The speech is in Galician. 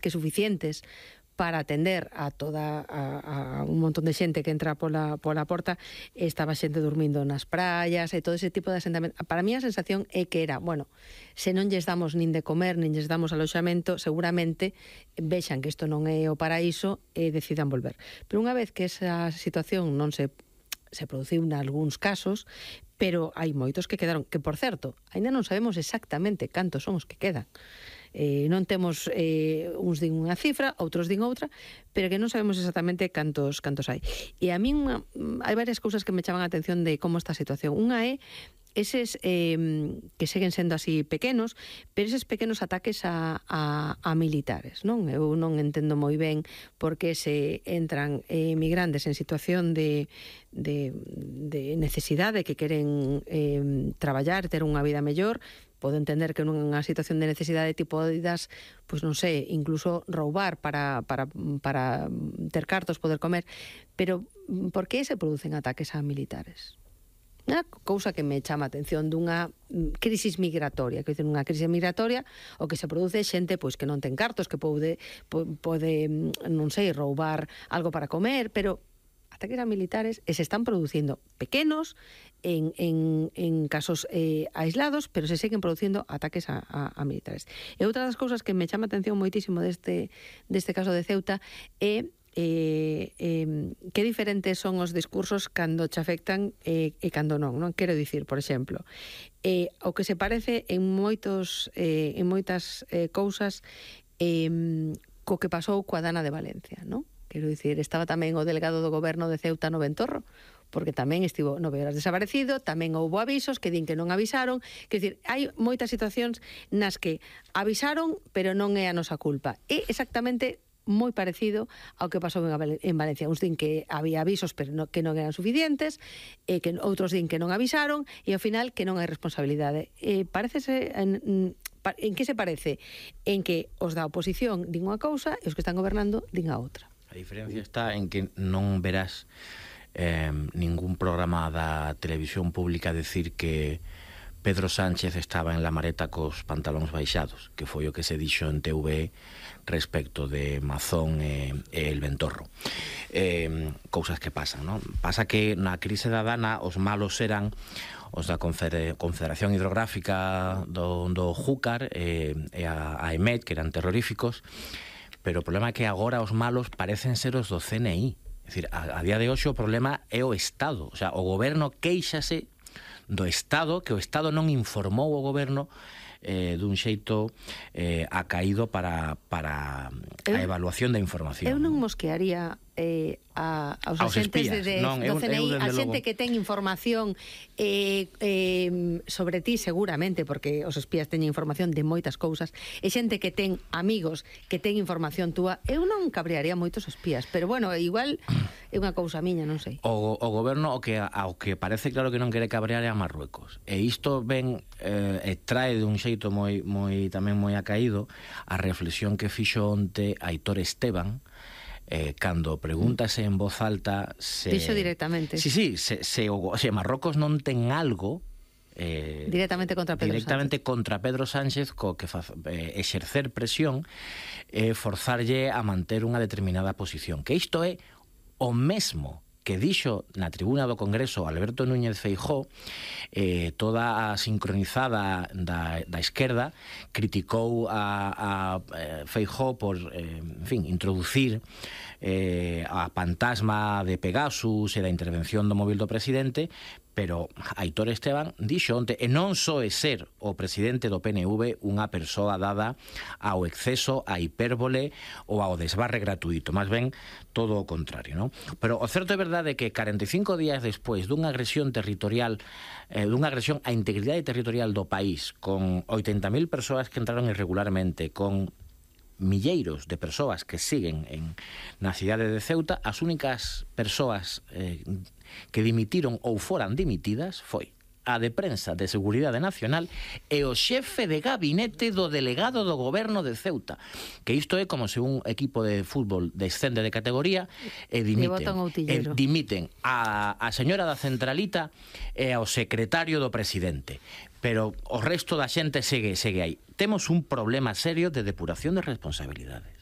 que suficientes para atender a toda a un montón de xente que entra pola porta. Estaba xente dormindo nas praias e todo ese tipo de asentamento. Para mí a sensación é que era, bueno, se non lles damos nin de comer, nin lles damos aloxamento, seguramente vexan que isto non é o paraíso e decidan volver. Pero unha vez que esa situación non se produciu nalgúns casos, pero hai moitos que quedaron, que por certo, ainda non sabemos exactamente cantos son os que quedan. Non temos uns din unha cifra, outros din outra, pero que non sabemos exactamente cantos hai. E a min hai varias cousas que me chaman a atención de como está a situación. Unha é eses que seguen sendo así pequenos, pero eses pequenos ataques a militares, non? Eu non entendo moi ben por que se entran migrantes en situación de necesidade, que queren traballar, ter unha vida mellor. Podo entender que nunha situación de necesidade tipo das, pois non sei, incluso roubar para ter cartos, poder comer, pero por que se producen ataques a militares? Unha cousa que me chama a atención dunha crisis migratoria, que unha crisis migratoria o que se produce xente pois que non ten cartos, que pode non sei, roubar algo para comer, pero ataques a militares se están producindo pequenos en casos aislados, pero se seguen producindo ataques a militares. E outra das cousas que me chama a atención moitísimo deste caso de Ceuta é que diferentes son os discursos cando te afectan e cando non. Quero dicir, por exemplo, o que se parece en moitas cousas co que pasou coa Dana de Valencia, non? Quero dicir, estaba tamén o delegado do goberno de Ceuta no Ventorro, porque tamén estivo 9 horas desaparecido, tamén houbo avisos que din que non avisaron. Quero dicir, hai moitas situacións nas que avisaron, pero non é a nosa culpa. É exactamente moi parecido ao que pasou en Valencia. Uns din que había avisos, pero que non eran suficientes, que outros din que non avisaron, e ao final que non hai responsabilidade. Parécese... En que se parece? En que os da oposición din unha cousa e os que están gobernando din a outra. A diferencia está en que non verás ningún programa da televisión pública decir que Pedro Sánchez estaba en la mareta cos pantalóns baixados, que foi o que se dixo en TV respecto de Mazón e el Ventorro. Cousas que pasan, non? Pasa que na crise da Dana os malos eran os da Confederación Hidrográfica do Júcar e a EMET, que eran terroríficos, pero o problema é que agora os malos parecen ser os do CNI. É dicir, a día de hoxe o problema é o Estado. O sea, o goberno quéixase do Estado, que o Estado non informou o goberno dun xeito acaído para a evaluación da información. Eu non mosquearía aos axentes do CNI, a xente que ten información sobre ti seguramente, porque os espías teñen información de moitas cousas, e xente que ten amigos que ten información túa. Eu non cabrearía moitos espías, pero bueno, igual é unha cousa miña, non sei. O goberno ao que parece claro que non quere cabrear é a Marruecos, e isto ven trae de un xeito tamén moi acaído a reflexión que fixo onte Aitor Esteban, cando pregúntase en voz alta se... Dixo directamente. Sí, se Marrocos non ten algo directamente contra Pedro Sánchez co que exercer presión e forzarlle a manter unha determinada posición, que isto é o mesmo que dixo na tribuna do Congreso Alberto Núñez Feijóo. Toda a sincronizada da esquerda criticou a Feijóo por, en fin, introducir a fantasma de Pegasus e da intervención do móvil do presidente, pero Aitor Esteban dixo onte, e non só é ser o presidente do PNV unha persoa dada ao exceso, á hipérbole ou ao desbarre gratuito, máis ben todo o contrario, non? Pero o certo é verdade que 45 días despois dunha agresión territorial, dunha agresión á integridade territorial do país, con 80.000 persoas que entraron irregularmente, con milleiros de persoas que siguen na cidade de Ceuta, as únicas persoas que dimitiron ou foran dimitidas foi a de prensa de Seguridade Nacional e o xefe de gabinete do delegado do goberno de Ceuta, que isto é como se un equipo de fútbol descende de categoría e dimiten a señora da centralita e ao secretario do presidente, pero o resto da xente segue aí. Temos un problema serio de depuración de responsabilidades.